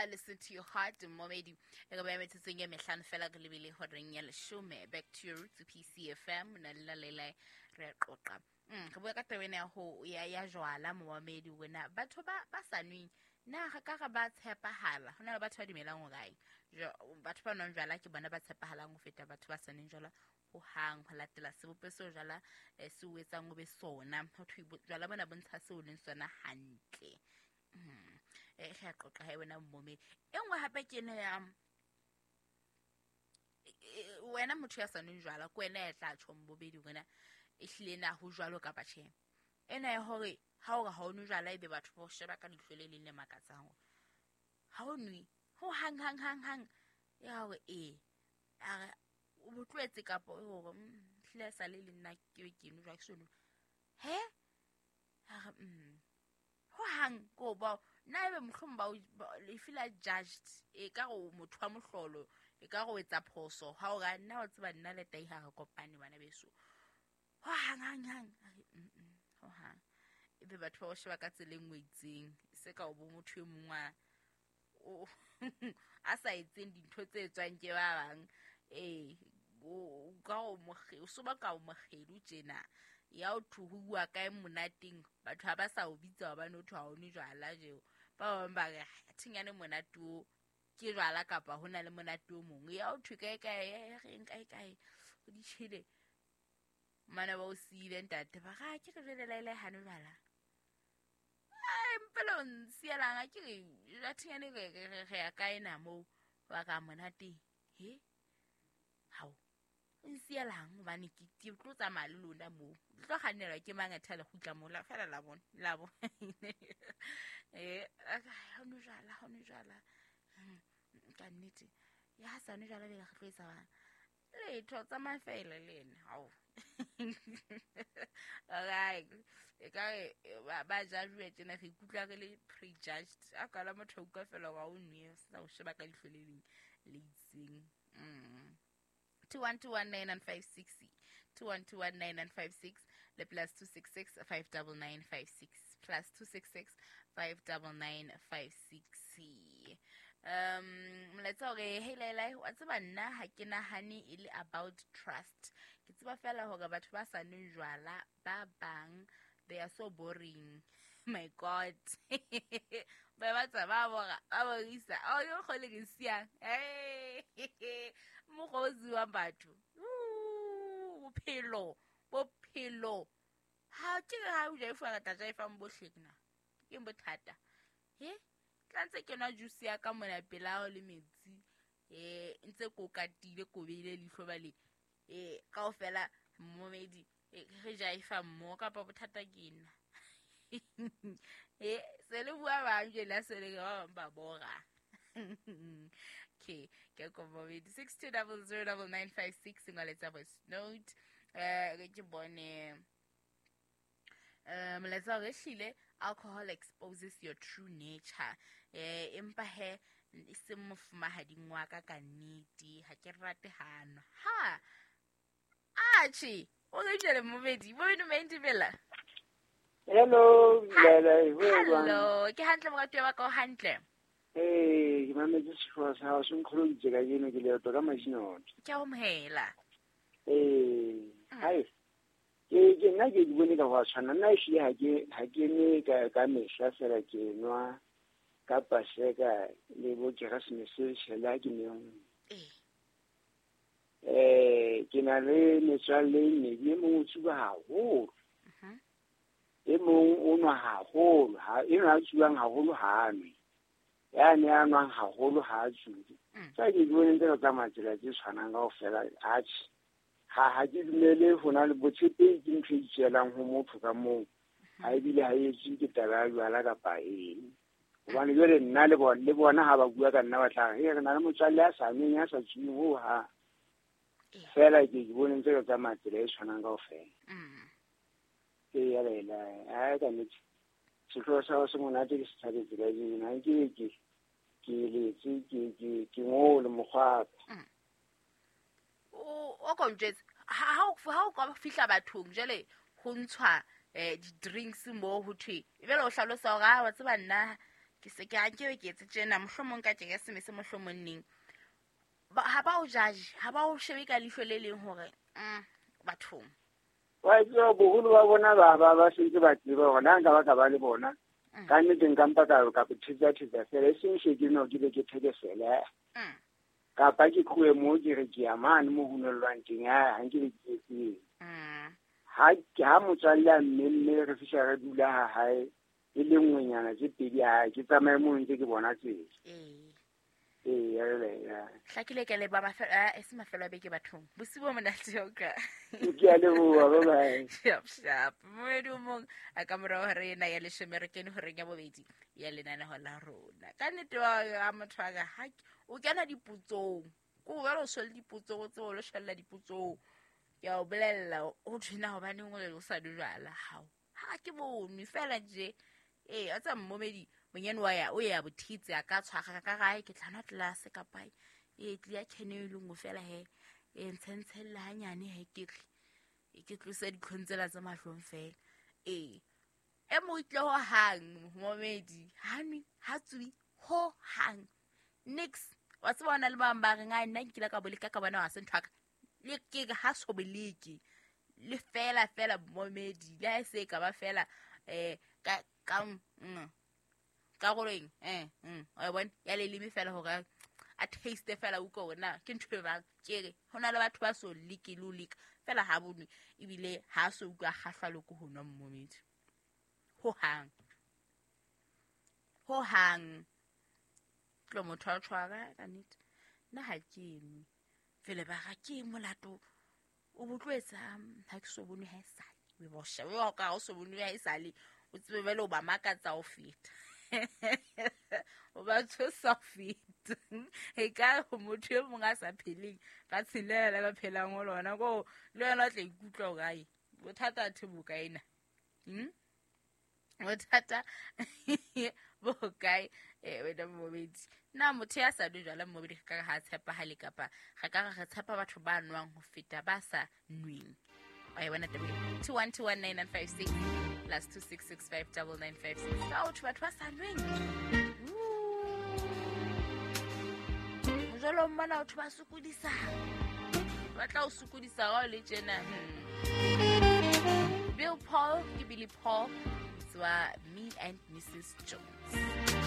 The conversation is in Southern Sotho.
Sa Listen to Your Heart, momedi. E ka ba metsotsong e mehlano fela re lebile horeng ya leshome. Back to your roots, PCFM, na le la re a qoqa. Re bua ka taba ena ya ho ya jwala, momamedi, wena batho ba sa nweng na re ka re ba tshepahala? Ho na le batho ba dumelang hore ai, batho ba nwang jwala ke bona ba tshepahalang ho feta batho ba sa nweng jwala ho hang, ho latela sebopeho seo jwala se o etsang o be sona. Ho thwe jwala bona bo ntsha seo o leng sona hantle. Re a qoqa ha wena momamedi. E nngwe hape ke ena ya wena motho ya sa nweng jwala, ke wena ya tla tjho mbobedi wena ehlile na ho jwalo kapa tjhe. Ena ya hore ha o re ha o nwe jwala ebe batho ba o sheba ka leihlo le leng le makatsang hore ha o nwe ho hang hang hang hang, ya hore ee a re o bo tlohetse kapa hore hlile a sa le le nna ke be ke nwe jwala ke so nwe. He? A re, ho hang ko ba nna ebe mohlomong ba o le feel judged, e ka re o motho wa mohlolo, e ka re o etsa phoso ha o ra nna o tseba nna le tai ha re kopane bana beso. Ho hang hang hang, a re, ho hang. Ebe batho ba o sheba ka tsela e nngwe itseng, se ka o bo motho e mong wa o a sa etseng dintho tse etswang ke ba bang. O ka o mokge, o so ba ka o mokgedu tjena. Ya o thwe ho bua kae monateng, batho ha ba sa o bitsa hobane o thwe ha o nwe jwala jeo. Ba bang ba re, ha thinyane monate o ke jwala kapa ho na le monate o mong. Ya o thwe kae kae, reng kae kae, o di tjhele. Mana ba o siile ntate, ba re, ke re jwale laele ha nwe jwala. Ai, mpela o nsielang, ha ke re, jwa thinyane re ya kae na moo, ba ka monate. He? Hao. O nsielang hobane ke tlo tsamaya le lona moo. Le tlo kgannelwa ke mang athe le kgutla moo, la fela la bona, la bona. Ha nwe jwala, ha nwe jwala. Ka nnete. Ya ha sa nwe jwala bele re tlo etsa bang? Letho, tsamaya fela le ena. Hao. Alright. E ka re, ba judge tjena, re ikutlwa re le prejudged. A ka la motho a utlwa fela hore ha o nwe, sa o sheba ka leihlo le leng le itseng. 21219956, 21219956, le +266 59956, +266 59956. Molaetsa hore hey Laila, wa tseba nna ha ke nahane e le about trust. Ke tseba fela hore batho ba sa nweng jwala ba bang, they are so boring. My God. Ba ba tsa ba bora, ba borisa. Oh, yo kgole ke siang. Hey. Mokgwa o ziwang batho. Bophelo, bophelo. Ha ke re ha o ja efa re tla ja efang bohle ke na. Ke bothata. He? Tla ntse ke nwa juice ya ka mona pela hao le metsi. Ntse ko katile, ko beile leihlo bale. Kaofela momedi, re ja efa mmo kapa bothata ke nna. Se le bua bang jwale ha se le ba bang ba bora. Okay, ke kopa momedi 62009956 ngoletsa voice note. Ke bone molaetsa hore ehlile alcohol exposes your true nature. Empa he e seng mofumahading wa ka ka nnete, ha ke rate hano. Ha. Atjhe, o re jwale momedi, momedi Mendibela. Hello, Laila, ho jwang? Hello, ke hantle moratuwa wa ka, o hantle? Ke mametse sehlooho sa hao, se nkgoloditse kajeno, ke leeto ka Majinoto. Ke a o amohela. Hai. Ke nna ke di bone ka ho tshwana, nna ehlile ha ke nwe ka mehla fela, ke nwa ka Paseka le bo Keresemese tjhela ke nwe. Ke na le metswalle e mmedi, e mong o tsuba haholo. E mong o nwa haholo, ha enwa a tsubang haholo ha a nwe. Ya ne a nwang haholo ha a tsube. Tsa ke di bone ntse re tsamaya tsela tse tshwanang kaofela, atjhe. Ha ke dumele ho na le botshepehi ke ntho e itswelang ho motho ka moo. Ha ebile ha e etswe ke taba ya jwala kapa eng. Hobane jwale nna le bona, le bona ha ba bua ka nna ba tla re, re na le motswalle ya sa nweng, ya sa tsubeng ho hang. Fela ke bone ntse re tsamaya tsela e tshwanang kaofela. Ke ya Laila, ha ka nnete. Sehlooho sa hao se monate ke se thabetse kajeno. Ha nke ke letse, ke ngole mokgwa. O ko njwetse, ha o ka fihla bathong jwale ho ntshwa di-drinks moo ho thwe, ebile o hlalosa hore, ha, wa tseba nna Ke se ke a ke etse tjena mohlomong ka keresemese mohlomong neng. Ha ba o judge, ha ba o shebe ka leihlo le leng hore bathong. Wa tseba boholo ba bona ba sentse ba tseba hore na nka ba ka ba le bona. Ka nnete nka mpa ka thetsa fela e seng she ke no ke be ke thekesele. Kapa ke tlohe moo ke re ke ya mane mo ho nellwang teng ha nke be ke etseng. Ha motswalle a mmemme re fihla re dula ha hae e le nngwenyana tse pedi ha ke tsamaye moo ntse ke bona tsela. Hlakile ke le ba e se mafelo a beke bathong. Bosiu bo monate o ka. Ke a leboha, bye bye. Sharp sharp. Moedi o mong a ka morao hore ena ya leshome re kene horeng ya bobedi ya lenaneho la rona. Ka nnete wa motho wa ka ha o kena dipotsong. Ko o shwele dipotsong, o tsebe o lo shwella dipotsong. Ke a o bolella o thwena hobaneng o le o sa nwe jwala hao. Ha ke bone fela nje. A tsa mmomedi monyane wa ya o ya bothitse a ka tshwara ka gae ke tla nwa tlelase kapa e tlia kene e lengwe fela he e ntshentshella hanyane he ke tle ke tlose ditlhong tsela tse mahlong fela. E mo itle ho hang momedi ha nwe ha tswi ho hang nix wa tseba ona le bang ba reng a nna nkile ka boleka ka bona wa se ntho ka le ke ha so boleke le fela fela momedi le ha se ka ba fela ka ka goreng o bona ya le leme fela hore a taste fela o ko na ke ntho e bang ke re hona le batho ba so like lo like fela ha bonwe ebile ha so utlwa kgahlwa le ko ho nwa mmomedi ho hang tlo motho a tshwara ka nnete nna ha ke nwe fela ba ga ke molato o botlwetsa ha ke so bonwe ha e sale o bo shebe o ka o so bonwe ha e sale o tsebe bele o ba makatsa o feta o ba tshosa feta e ka motho e mong a sa pheleng ba tshelela ba phelang ho lona ko le wena o tla ikutlwa o kae bothata the bokae na bothata bo kae wena mmobedi na motho ya sa nwe jwala mmobedi ka ha tshepahale kapa re ka re tshepa batho ba nwang ho feta ba sa nweng. Wa e bona taba 2121956 plus 26659956 ka batho ba sa nweng mojolo mmana batho ba sokodisa ba tla o sokodisa ga o le tjena. Bill Paul ke Billy Paul tswa Me and Mrs. Jones.